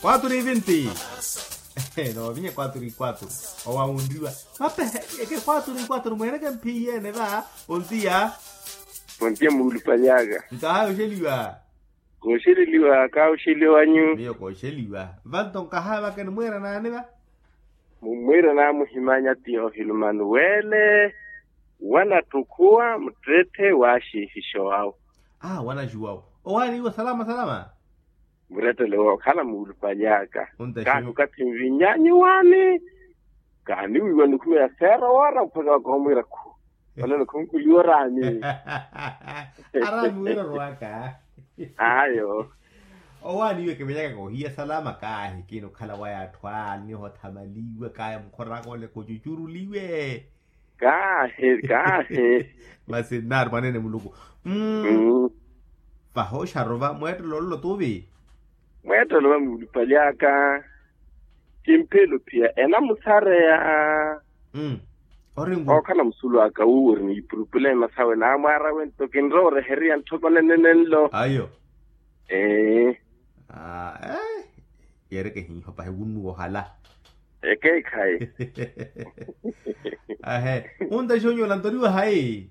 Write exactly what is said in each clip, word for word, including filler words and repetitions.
Quatro e vinte. Novinye quatro e quatro. Owawunriwa. Mapehe eke quatro e quatro mweereke mphiyi ene va. Pontiya. Pontiya muulupanyaka. Nkahayi oxeliwa. Kooxeleliwa kaaxeliwanyu. Miyo kooxeliwa. Vanto nkahayi vake nimwiira naani va? Mumwiira naamuhimanya tiyohilo manuwele. Wanatthu khuwa muttetthe wa axiifixa owawo. Aa wanaxuwawo. Owaani iwo salama salama. Murettele wookhala muulupanyaka. Kaani okathi nvinyanyu waani. Kaani wiiwa nikhumeya seera woora mpakha wakoomwiira khu. Olelo khunkuliwa oraani. Araani wira orwaka. Ayo. Owaani iwe kimenyaka kohiya salama kaahi kina okhala waya atthu aani nihothamaliwe kaya mukhoraka ole kucucuruliwe. Kaahi kaahi. Masi nnaari mwaneene muluku. Mm. Vahooxaru va mweettelo ololo tuvi. Mweettelo va muulupanyaka. Kimphelo pia enamusareya. Oringu. Ookhala musulu aka wuwo ori ni ipurupulema sawe naamwaara wento kinrowa oreheriya ntthoko nenenenlo. Ayo. Ee. Yeereke hiiho pahi wunnuwa ohala. Ekeekhayi. Ahe. Untaxi onyuula ntoriwa hayi?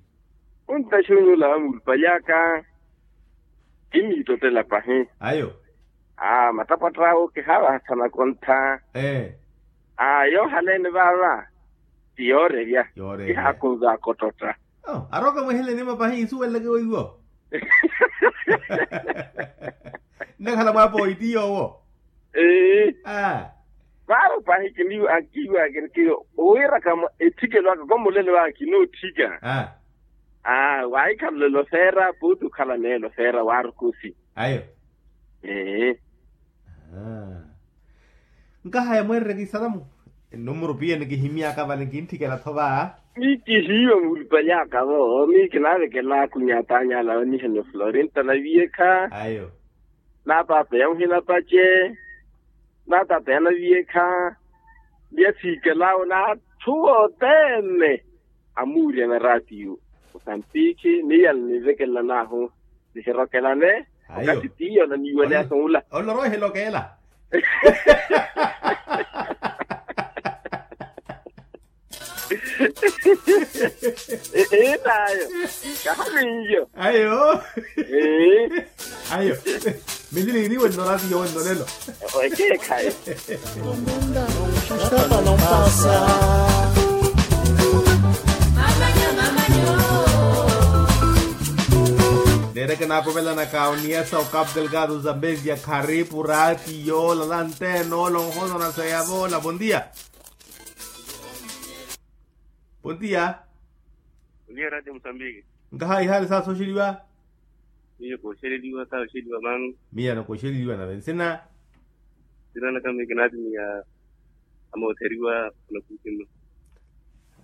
Untaxi onyuula va muulupanyaka. Kimiittottela pahi. Ayo. Aa mattapwatta awo kihaavahasana kontha. Ee. Aa yoohaleene vaava. Ti yoorerya. Yoorerya. Kihaakunzaka ottotta. Aroka mweheleni mapahi insuweleleke weiwo. Nnakhala mwaapoyi ti yoowo. Ee. Vaaro pahi kiniiwa ankiiwa kinikiiwa owiirakamo etthikelo aka komulelo aka kinootthika. Aa waahikhala olelo feera puuti okhala neelo feera waarukusi. Ayo. Ee. Nkahaya mweerereke isalamu. Enumuru piya nikihimyaka vale nkintthikela-tho va. Miyo kihiiwa muulupanyaka-vo miyo kinaavekela akunyatanyala vanihaniwa florinta naviyekha. Ayo. Naapaapeya muhina pace. Naapaapeya naviyekha. Ni asiikelawo n'atthu othene. Amuuryana raatiyo. Osampikhi ni yala ninvekelan'ahu. Nihirokelane. Okathi tiyo naniiweleyaka onla. Oloroohela okela. Enayo. Kahaminyo. Ayo. Ayo. Milili iniwe nnorathi yowe nnolelo. Ekeekhayi. Neereke naakovelanaka oniyasa okapu delgado zambezia kharipu raatiyo lala nteene ola onhono naseyavo ola bontia. Bontia. Bontia raatiyo musambiki. Nkaha ihaali saasoxeliwa. Miyo kooxeleliwa kaaxeliwa mamu. Miyo anakooxeleliwa nave nsina. Nsina naka miyo kinaatimiya. Amootheriwa anakusi mma.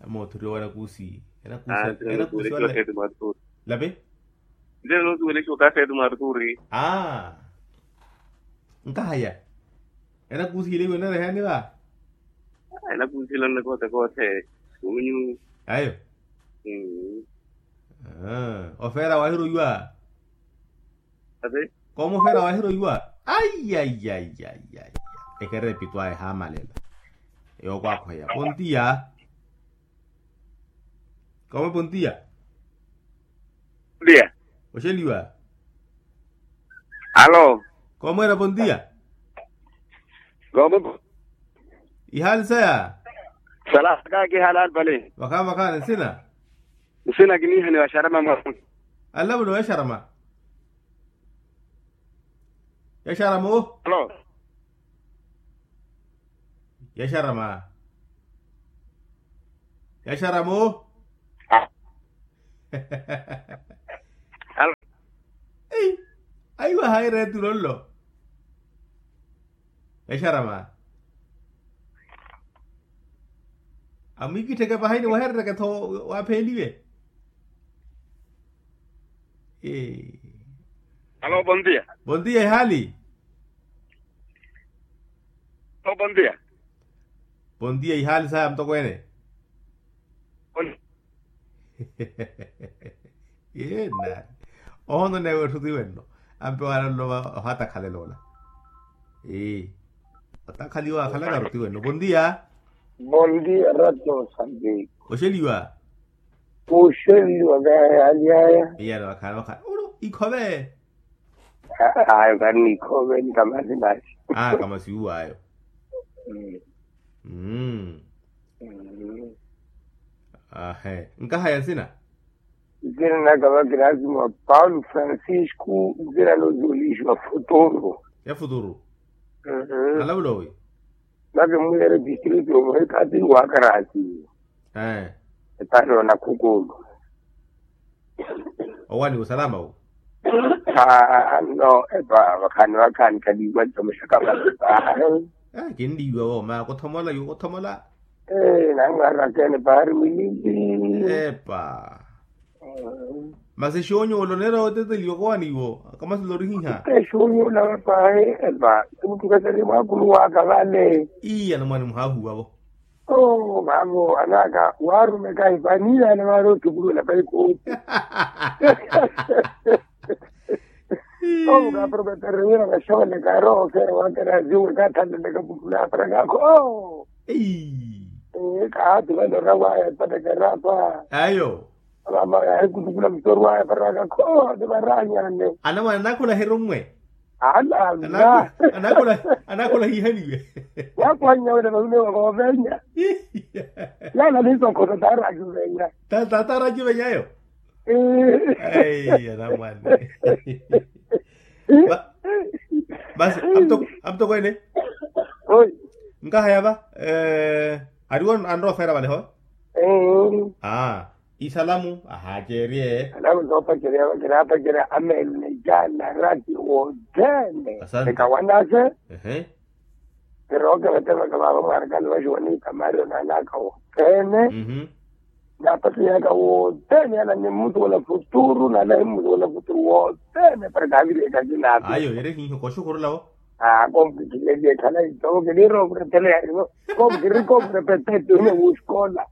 Amootheriwa anakusi. Anakusi. Lapi. Nte noosiwelexiwa okaseeti mwa arturi. Aa. Nkahaya. Enakusi ile iwe onereheani va? Enakusi ile onne koothe koothe. Kumunyu. Ayo. Ofeera waahiroiwa. Koomofeera waahiroiwa. Ai ai ai ai. Ekere epitwa ehaamalela. Yookwakhoya pontiya. Koome pontiya. Pontiya. Oxeliwa. Alo. Koomweera pontiya. Koome. Ihaali saya. Salaka kihaali alipale. Vakhaani vakhaani nsina. Nsina kiniihaniwa xarama mwa. Alapule wa xarama. Ya xarama o. Alo. Ya xarama. Ya xarama o. Alo. Ei. Aiwa hayi reetu lollo. Ya xarama. Amwikittheke pahini waherereke-tho. Waapheeliwe. Alo bontia. Bontia ihaali. Alo bontia. Bontia ihaali saya mutokweene. Yena. Ohono newe etthu tiwenno. Ampe wala nlova ohatakhalela ola. Ee. Otakhaliwa akhalaka ruti wene bondia. Bondia rato sambiki. Oxeliwa. Oxeliwa kaya yalyaya. Iyano akhala wakhala ulo ikhove. Ayo kani ikhove ni kamasi nasi. Ah kamasi uwayo. Mm. Ahe nkahaya nsina. Nsina naka vakirasi mwa paulo francisco nsina noziwelixiwa futuru. Ya futuru. Alavulowi. Nake mwiyere district omwe kati wakarasi. Epano nakhukulu. Owani usalama wu. No epa vakhani vakhani kadiwa tomoxaka vale. Kindiwa wo ma kuthomola yu kuthomola. Namwarakene pari milili. Epa. Masi xonyola oneera oteteliwa kowaniwo. Kamasila orihiha. Xonyola pahe. Epa. Tukutukasari mwakulu waka vale. Iya namwani muhahuwavo. Oo vavo anaka warumeka ipaniya na wari otukulula paikoti. Omukaprometerewira vaxooleka roho fera wakera ziwe kathaleleka putula para kakho. Kaati valora waya epataka erapa. Ayo. Amama yahikutukula mutori waya para kakho ni varanyane. Anamwana anakhula herummwe. Alala. Anakhula hihaniwe. Wakwanya wena vavune wavovenya. Lala nisokhoto tarakiwenya. Tarakiwenyayo. Ai anamwane. Basi. Amutoko ene. Nkahaya va. Ariwo anrowa ofera valeho. Isalamu ahacerye. Salamu zoopacerya vakira apacerya amene jana rati wothene. Ekawanase. Pero okeveteveka vava mwarakani vaxiwa ni kamario nanaka wothene. Napatiyaka wothene ana ni mmutuwela futuru nana himmutuwela futuru wothene para kaviriyeka kinapi. Ayo ere hiho koxukhurulawo. Komukikileliye khala itovo kiniroovurepele yarivo. Komukiri komurepetete ine wuxikola.